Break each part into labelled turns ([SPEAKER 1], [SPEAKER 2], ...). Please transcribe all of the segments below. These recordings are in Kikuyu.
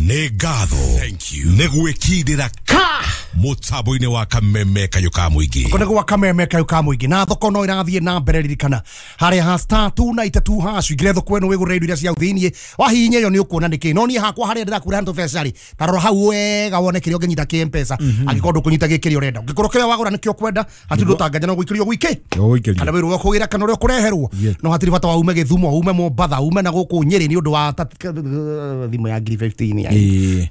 [SPEAKER 1] Nĩ ngatho nĩ gwĩkindĩra ka mũtambo-inĩ wa Kameme Kayũ ka Mũingĩ.
[SPEAKER 2] Kå nä gwa Kameme Kayå ka Mũingĩ na thoko no ĩrathiĩ na mbere. Ririkana harĩa ha *292# ingĩre thoko ĩno wĩgũrĩre indo iria cia thĩiniĩ. Wahihinya ĩyo nĩ ũkuona nĩkĩ, no niĩ hakwa harĩa ndĩrakwĩra ntũ beca rĩ, ta rora hau wega wone kĩrĩa ũngĩnyita kĩ Mpesa. Angĩkorwo ndũkũnyita gĩ kĩrĩa ũrenda, ũngĩkorwo kĩrĩa wagũra nĩkĩo ũkwenda, hatirĩ ũndũ ũtanganja no gũikĩrio gwikĩ
[SPEAKER 3] Gũikĩrio.
[SPEAKER 2] kana wĩrwo ũkũgĩra kana ũrĩa ũkũreherwo. No hatirĩ bata wa ume Gĩthumo, ume Mombatha, ume na gũkũ Nyĩrĩ nĩ ũndũ wa thimũ ya ngiri 15 ya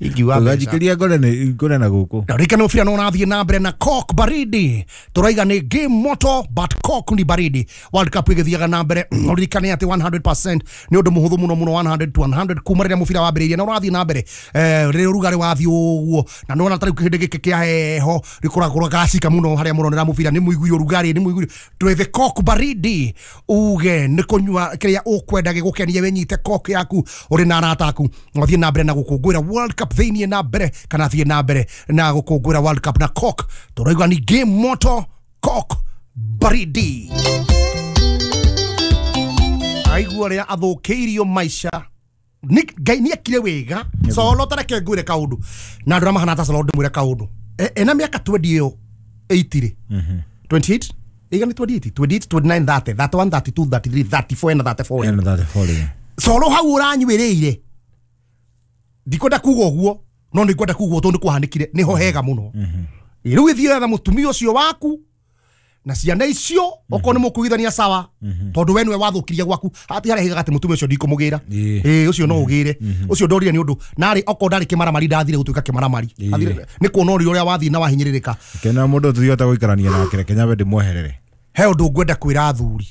[SPEAKER 2] ingiuga mbeca.
[SPEAKER 3] Ũganjikĩria ngore na gũkũ.
[SPEAKER 2] Na ririkana mũbira no ũrathiĩ na mbere na Coke baridi. Tũraiga nĩ game moto but Coke ni baridi. World Cup ĩgĩthiaga na mbere. Ũririkane atĩ 100% nĩ ũndũ mũhũthũ mũno mũno, 100 to 100 kuma rĩrĩa mũbira wambĩrĩirie na ũrathiĩ na mbere. Rĩrĩa ũrugarĩ wathiĩ ũguo na nĩwona ta rĩu kĩhĩndĩ gĩkĩ kĩa heho rĩkoragwo gacika mũno harĩa mũronera mũbira, nĩ mũigui ũrugarĩ, nĩ mũigui twethe Coke baridi. Uge nĩ kũnyua kĩrĩa ũkwenda gĩgũkenie, wĩnyite Coke yaku ũrĩ na arata aku, wathiĩ na mbere na gũkũngũĩra World Cup thĩiniĩ na mbere, kana thiĩ na mbere na gũkũngũĩra World Cup na Coke. Tũrauga ni game moto, Coke baridi. Aigua ũrĩa athũkĩirio maica. Ngai nĩ ekire wega. Solo tareke ngwĩre kaũndũ na andũ arĩa mahana ta Solo, ndĩmwĩre kaũndũ. Ena mĩaka 20 ĩyo 80 rĩ, 28 iga nĩ 28 28 29 30 31 32 33 34, ena 34.
[SPEAKER 3] Ena 34 rĩ.
[SPEAKER 2] Solo hau ũranyuĩrĩire, ndikwenda kuga ũguo, no nĩ ngwenda kuga ũguo tondũ nĩ kwahanĩkire nĩho hega mũno. Rĩu ĩthiĩ etha mũtumia ũcio waku na ciana icio, okorwo nĩ mũkuigithania sawa, tondũ we nĩwe wathũkirie gwaku. Hati harĩa higaga atĩ mũtumia ũcio ndikũmũgĩra. Ĩĩ, ũcio no ũgĩre ũcio ndorire nĩ ũndũ narĩ okorwo ndarĩ kĩmaramari, ndathire gũtuĩka kĩmaramari. Athire nĩ kuona ũrĩa ũrĩa wathiĩ na wahinyĩrĩrĩka.
[SPEAKER 3] Kena mũndũ tũthiota gũikarania nake, reke nyambe ndĩmweherere.
[SPEAKER 2] He ũndũ ngwenda kwĩra athuri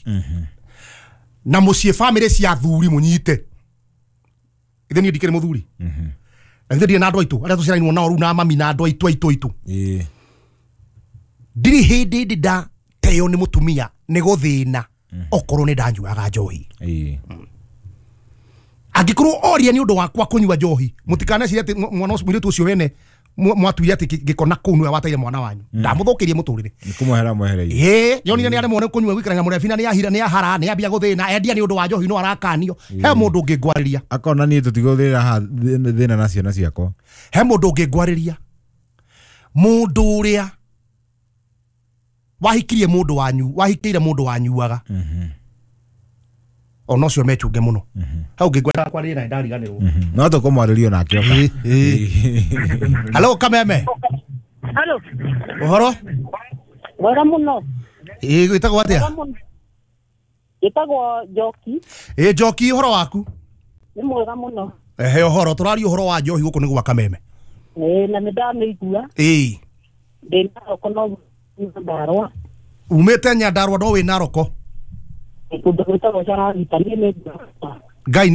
[SPEAKER 2] na mũciĩ, bamĩrĩ cia athuri, mũnyite ithe niĩ ndikĩrĩ mũthuri na ithe ndirĩ na andũ aitũ arĩa tũciaranirwo nao rĩu na mami na andũ aitũ. Ndirĩ hĩndĩ ndĩ ndateo nĩ mũtumia nĩ gũthĩna okorwo nĩ ndanyuaga njohi. Angĩkorwo oria nĩ ũndũ wakwa kũnyua njohi, mũtikanecirie atĩ mwana ũcio, mũirĩtu ũcio wene mwatuire atĩ gĩkona kũu nĩwe wateire mwana wanyu, ndamũthũkĩrie mũtũrĩre.
[SPEAKER 3] Nĩ kũmwehera mwehereire.
[SPEAKER 2] Ĩĩ, yonire nĩ aremwo nĩ kũnyua gũikarania na mũrebi na nĩ ahira, nĩ ahara, nĩ ambia gũthĩna endia nĩ ũndũ wa njohi, no arakanio. He mũndũ ũngĩngwarĩria.
[SPEAKER 3] Akona niĩ tũtigũthĩra haha thĩna na ciana ciakwa.
[SPEAKER 2] He mũndũ ũngĩngwarĩria, mũndũ ũrĩa wahikirie mũndũ wanyu, wahikĩire mũndũ wanyuaga, ona ũcio mechunge mũno. Hau ngĩngwenda kwarĩria na ndariganĩrwo.
[SPEAKER 3] No tũkũmwarĩrio nake oka.
[SPEAKER 2] Halo Kameme.
[SPEAKER 4] Halo.
[SPEAKER 2] Ũhoro?
[SPEAKER 4] Mwega mũno.
[SPEAKER 2] Ĩĩ, gwĩtagwo atĩa?
[SPEAKER 4] Mwega mũno. Njĩtagwo Njoki.
[SPEAKER 2] Ĩĩ Njoki, ũhoro waku?
[SPEAKER 4] Nĩ mwega mũno.
[SPEAKER 2] Ehe, ũhoro tũraria ũhoro wa njohi gũkũ nĩ gwa Kameme.
[SPEAKER 4] Ĩĩ, na nĩ ndamĩigua.
[SPEAKER 2] Ĩĩ.
[SPEAKER 4] Ndĩ Naroko no Nyandarũa.
[SPEAKER 2] Umĩte Nyandarũa no wĩ Naroko?
[SPEAKER 4] Kũndũ gwĩtagwo Cararita, niĩ nĩ ngwĩra.
[SPEAKER 2] Ngai.